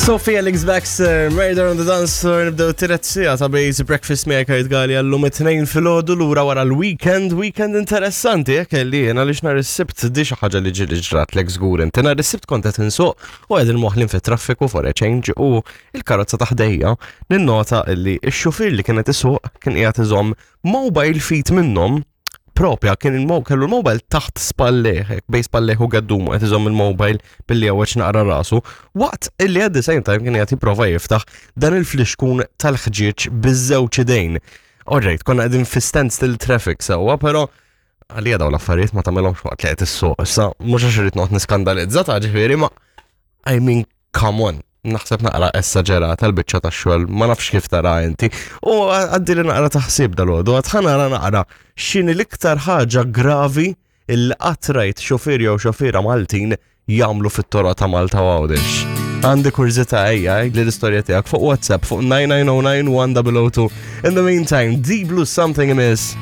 Sophie Alex Baxter, Murder on the Dance Floor, nibdew t-tiret sija ta' Base Breakfast miegħek Kurt Gali għallum it-tnejn filgħodu lura wara l-weekend, weekend interessanti jekk kelli jien għaliex nhar is-Sibt di xi ħaġa li ġieli ġratlek żgur inti nhar is-Sibt kont qed insuq u qegħdin moħlin fit-traffiku for a change u il-karozza ta' ħdejja ninnota li x-xufier li kienet isuq kien qiegħed iżomm mobile feet minnhom propja kien il kellu l-mobile taħt spalleh, bej spalleh u gaddumu qed iżomm il-mobile billi għaweċ naqra rasu, waqt illi at the same time kien qed jipprova jiftaħ dan il-flixkun tal-ħġieġ biż-żewġ idejn. Alright, konna qegħdin fi standstill traffic sewwa, però għalija daw l-affarijiet ma tagħmilhomx waqt li qed issuq. Issa mhux għax irid noqgħod niskandalizza ta' ġifieri ma I mean come on. Naħseb naqra essaġerata l-biċċa ta' xogħol, ma nafx kif tara inti. U għaddi li naqra taħsib dal-għodu, għad nara naqra x'inhi l-iktar ħaġa gravi il qatt rajt xofier jew xofiera Maltin jagħmlu fit-toroq ta' Malta u Għawdex. Għandi kurżità ejja li l-istorja tiegħek fuq WhatsApp fuq 9909 1002. In the meantime, Deep Blue Something Amiss.